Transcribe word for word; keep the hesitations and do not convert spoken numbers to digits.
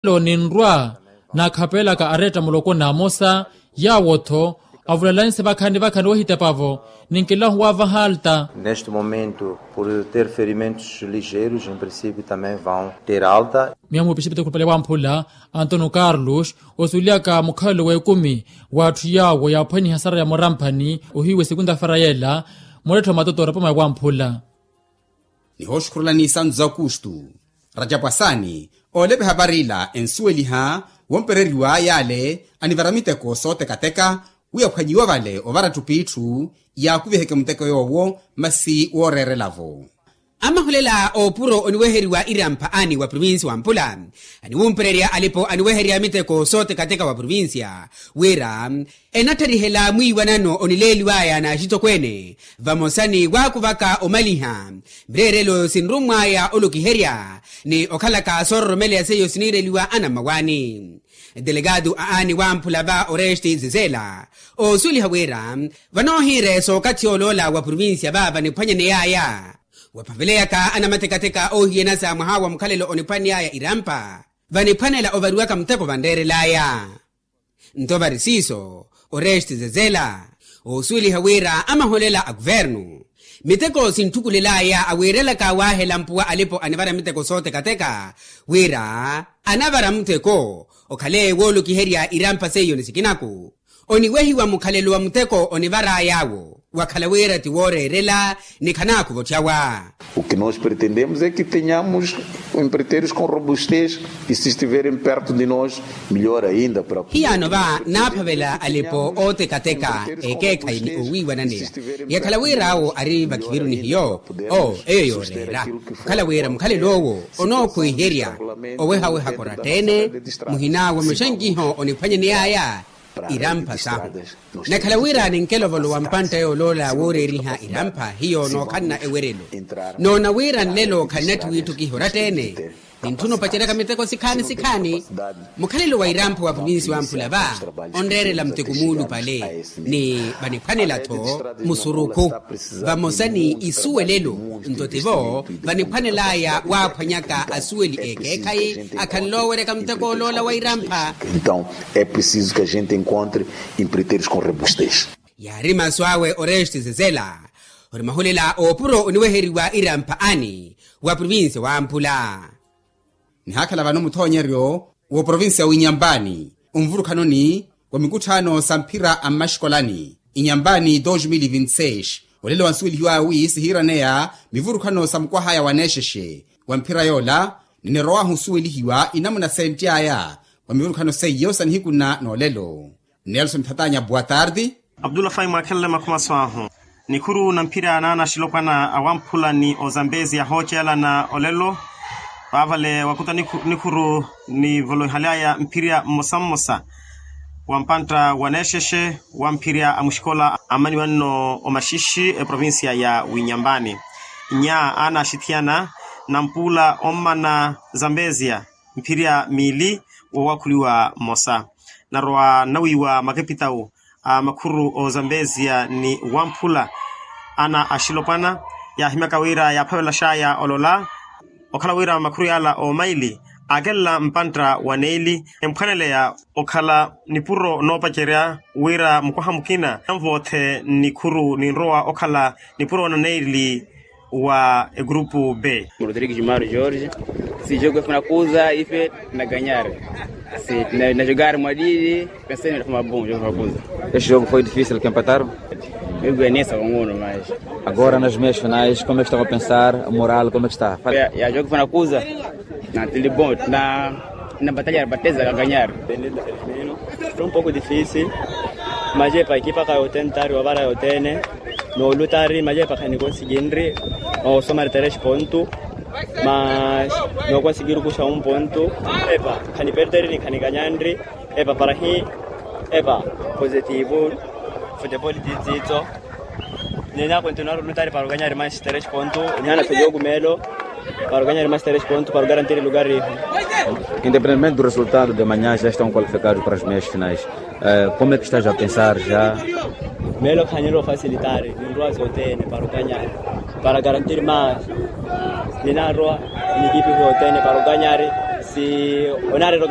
Ninrwa naakhapeelaka aretta muloko n'amosa, yaawo-tho avulelanse vakhaani vakhaani wahitepavo. Ninkilahu waavaha alta. Neste momento por ter ferimentos ligeiros em princípio também vão ter alta. Miya muupixipite khulupale wamphula antonio carlos osuwelihaka mukhalelo w'ekumi w'atthu yaawo yaaphwaniha sara ya muramphani ohiiwe sekunta fara yeela. Muletthi wa matoto orapama ya wamphula. Nihooxukhurulani santu za aukustu, rajapu asaani oolepeha varila ensuweliha wompereriwa yaale anivara miteko sootekateka wi aphwanyiwe vale ovara atthu p'itthu yaakuviheke muteko yoowo masi wooreerela-vo. Amahulela oopuro oniweheriwa irampha ani wa provincia wa mpula aniwumpererya alipo aniweherya miteko sootekateka wa provincia wira enattarihela mwiiwanano onileeliw'aya n'axitokweene vamosa ni waakuvaka omaliha mireerelo sinrummw'aya olokiherya ni okhalaka soororomeleya seiyo siniireliwa anammawaani. Delegado a aani wamphula va oresti zezela oosuweliha wira vanoohiire sookathi oloola wa provincia va vaniphwanyaney'aya waphaveleyaka anamatekateka oohiyanasa mwaha wa mukhalelo oniphwaney'aya irampha vaniphwanela ovariwaka muteko vanreerel'aya. Nto vari siiso oresti zezela oosuweliha wira amaholela a kuvernu miteko sinttukulel'aya awiirelaka waahela mpuwa alipo anivara miteko sootekateka wira anavara muteko okhale woolokiherya irampha seiyo ni sikinaku oniwehiwa mukhalelo wa muteko onivar'ay'awo wakhala wira ti wooreerela ni khanaakhuva otthy'awa. O que nós pretendemos é que tenhamos empreiteiros com robustez e se estiverem perto de nós melhor ainda para hiyaano va naaphavela alipo ootekateka ekeekhayi ni owiiwananeya yakhala wira awo ari vakhiviru ni hiyo oo eyo yooreera okhala wira mukhalelo owo onookhwiherya owehawehaka oratta-ene muhina wa muxankiho oniphwanyaney'aya irampha sahu. Nakhala wira ninkelovolowa mpantta yooloola wooreeriha irampha hiyo nookhanna ewerelo noona wira nlelo khannatthu wiitthukiha oratta-ene nintthuna opaceryaka miteko sikhaani sikhaani. Mukhalelo wa irampha wa provinsi wamphula va onreerela muteko muulupale ni vaniphwanela-tho musurukhu vamosa ni isuwelelo nto tivo vaniphwanel'aya waaphwanyaka asuweli ekeekhayi akhanle oweryaka muteko oloola wa irampha. Então é preciso que a gente encontre empreiteiros com robustez. Yaari masu awe oresti zezela ori mahulela oopuro oniweheriwa irampha ani wa provinsi wamphula. Nihaakhala vano muthoonyeryo w'oprovinsiya w'inyambani onvurukhanoni wa mikutthaano sa mphira a mmaxikolani inyambani dos mil vinti seis olelo wansuwelihiw'awe wi sihiiraneya mivurukhano sa mukwah'aya wa neexexe wa mphira yoola ninirow'ahu osuwelihiwa inamuna senty'aya wa mivurukhano seiyo sa nihiku nna n'olelo. Nelson thatanya boa tarde. Abdullah fai mwaakhenle makhumaso ahu nikhuru na mphira naana axilopwana awamphula ni ozambezi ahoocelana olelo. Vaavale wakuta nikhuru nivoloihaly'aya mphira mmosa mmosa wa mpantta wa neexexe wa mphira a muxikola ammaniwa nno omaxixi eprovincia ya winyambani. Nya aana axithiyana nampuula ommana zambezia mphira miili wowakhuliwa mmosa narowa nnawiiwa makepitawu a makhuru ozambezia ni wamphula ana axilopwana yaahimyaka wira yaaphavelaxaya olola okhala wira makhuru yaala omaili aakelela mpantta wa neili emphwaneleya okhala nipuro noopacerya wira mukwaha mukina anvoothe nikhuru ninrowa okhala nipuro na neili wa egrupu b. Rodrigues maro george. Si jogo efuna kuza ife na ganyar si na jogar mwadidi. Pensei na fuma bom jogo funa kuza. Este jogo foi difícil que empataram. Jogo é nessa com uno mais. Agora nas meias finais como é que estão a pensar moral como é que está? Ya jogo funa kuza. Na tili bom na na batalha bateza ka ganyar. Foi um pouco difícil. Mas epa ekipa ka yotene tari wavara yotene. Noolutari mas epa khani konsiginri. Osomari teres pontu mas nokonsigiru kuxa un pontu. Epa khani perderini khani ganyanri. Epa parahi. Epa positivu. Futebol titsitso. Nena kontinuar lutari para uganyari mas teres pontu. Nihana tojogu melo para uganyari mas teres pontu para ugarantiri lugari. Independentemente do resultado de manhã já estão qualificados para as meias finais. Como é que estás a pensar já? Melo khaniro facilitar ninroa zotene para uganyari para garantir mas ninarwa nikipi zotene para uganyari. Onaareera